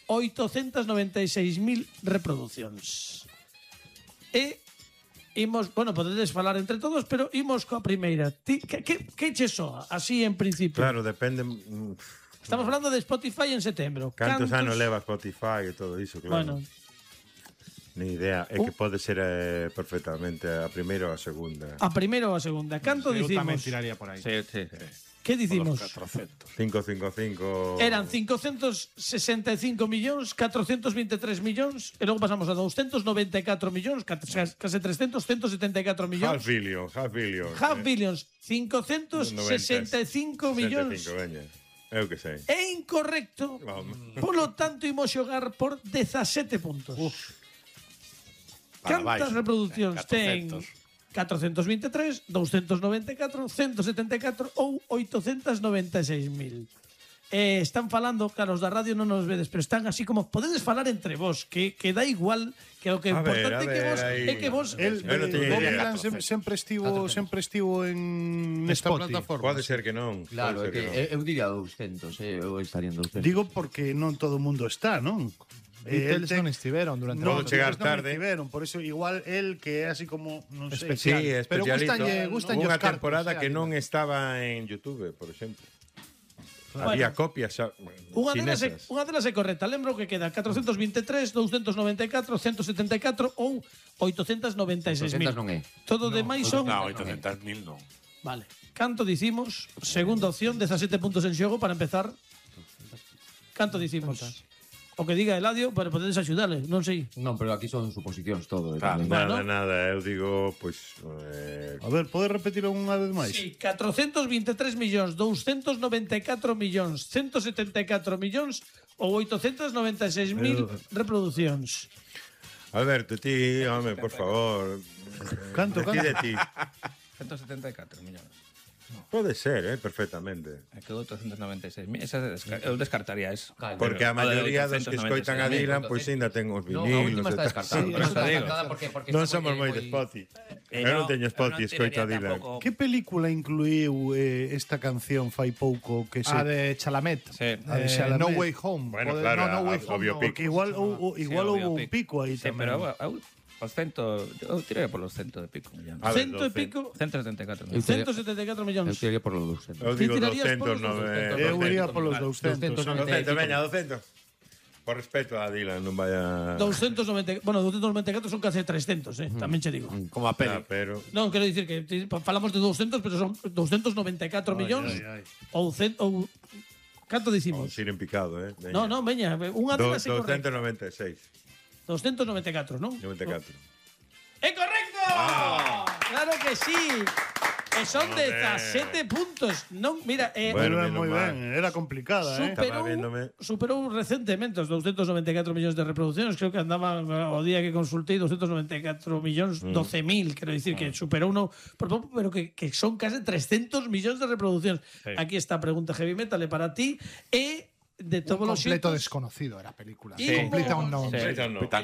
896.000 reproduccións. E imos, bueno, podedes falar entre todos, pero imos coa primeira. Que che soa, así en principio? Claro, depende. Estamos falando de Spotify en setembro. Cantos anos leva Spotify e todo iso, claro. Bueno, Ni idea, é que pode ser perfectamente a primeira ou a segunda. a primeira ou a segunda. Canto Eu tamén dicimos? tiraría por aí. Sí. Que dicimos? 555. Eran 565 millóns, 423 millóns, e logo pasamos a 294 millóns, case 300, 174 millóns. Half billion. Half billions, 565 millóns. 65, veña. Eu que sei. É incorrecto. Polo tanto, imos xogar por 17 puntos. Cantas reproduccións ten? 423, 294, 174 ou 896.000. Están falando, claro, os da radio non nos vedes, pero están así como podedes falar entre vos, que da igual, que o que é importante é que vos Bob Dylan sempre estivo en nesta plataforma. Pode ser que non. Claro, é pode ser que eu diría 200, eu estaría en 200. Digo porque non todo o mundo está, non? Beatles non estiveron durante Pode chegar Beatles non tarde. estiveron, por eso igual el que é así como, non sei. Sí, Pero especialito. gustanlle Unha os cartos, temporada que xa, non estaba en YouTube, por exemplo. Bueno. Había copias Unha chinesas. delas é correcta. Lembro que queda 423, 294, 174 ou 896.000. 800 non é. Todo demais son... No, 800.000 non. Vale. Canto dicimos? Segunda opción, 17 puntos en xogo para empezar. Canto dicimos? O que diga Eladio, pero podedes axudarle, non sei. Non, pero aquí son suposicións todo. Claro. Tamén. Nada, eu digo, pois... A ver, podes repetir unha vez máis? Sí, 423 millóns, 294 millóns, 174 millóns ou 896.000 reproducións. Alberto, ti, home, por favor. Canto? Decide ti. 174 millóns. Pode ser, perfectamente. É que 896. Eu descartaría eso. Porque a maioría dos que escoitan a Dylan, pois ainda ten os No, a vinilos. última está descartada. Sí, Pero está digo. descartada porque Non está somos moi de Spotify. Eu non teño Spotify, escoito a Dylan. Que película incluiu esta canción fai pouco que se... A de Chalamet. Sí. A de Chalamet. No Way Home. Bueno, Pode- claro, no a- Way o Home. biopic. Porque igual houve un pico aí Sí, tamén. pero os cento, eu tirei por los cento de pico millóns. A ver, Cento e pico, 174 Eu millóns. 174 Eu millóns. tiraría por los 200. Eu digo tirarías por 200, los Eu iría polos 200. 200, veña, 200. Por respeto a Dylan, non vaya... 290, bueno, 294 son case 300, tamén che digo. Como a peli. Pero... Non, quero dicir que falamos de 200, pero son 294 millóns ou canto dicimos? Vamos ir en picado, Veña. Non, veña, unha delas é correcta. 296. 294, non? 94. ¡Es correcto! ¡Claro que sí! E son 17 puntos. Non, mira, Bueno, Moi menos mal. ben, era complicada, Estaba viéndome. superou recentemente os 294 millóns de reproduccións. Creo que andaban o día que consultei 294 millóns 12.000, quero dicir que superou uno por pouco, pero que son case 300 millóns de reproduccións. Aquí está a pregunta heavy metal e para ti e de todos Un os completo xeitos, desconocido era a película. Sí. Completa un non. Sí.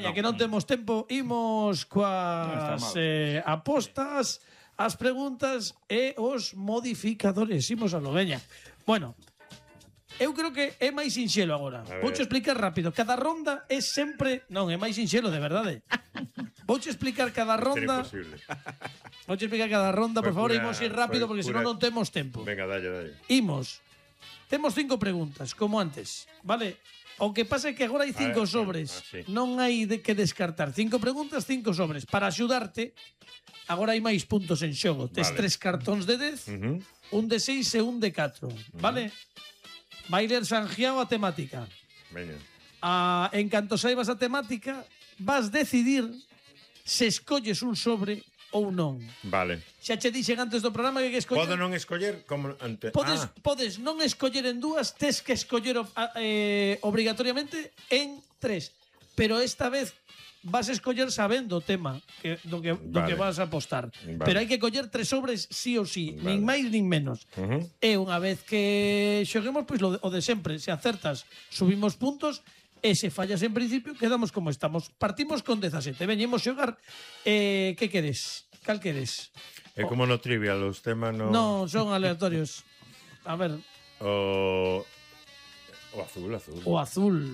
ya que non temos tempo, imos coas apostas, as preguntas e os modificadores. Imos a lo, veña. Bueno, eu creo que é máis sinxelo agora. Vouche explicar rápido. Cada ronda é sempre... Non, é máis sinxelo, de verdade. Vouche explicar cada ronda. Sería imposible. Vouche explicar cada ronda, por favor, imos ir rápido porque senón non temos tempo. Venga, dalle. Imos. Temos 5 preguntas, como antes, vale? O que pasa é que agora hai 5 sobres. sí. Non hai de que descartar. 5 preguntas, 5 sobres. Para axudarte, agora hai máis puntos en xogo. Tes Vale. 3 cartóns de 10, un de 6 e un de 4. Vale? Vai ler Sanjiao a temática. Veña. En canto saibas a temática, vas decidir se escolles un sobre ou non. Vale. Xa che dixen antes do programa que escoller... Podo non escoller como ante... Podes non escoller en dúas, tes que escoller obrigatoriamente en 3. Pero esta vez vas a escoller sabendo o tema do que vas a apostar. Vale. Pero hai que coller 3 sobres sí ou sí, Vale. nin máis nin menos. E unha vez que xoguemos, pois o de sempre, se acertas, subimos puntos. E se fallas en principio, quedamos como estamos. Partimos con 17. Veñemos xogar. Que queres? Cal queres? É como no trivial, os temas no... No, son aleatorios. A ver, O azul. o azul.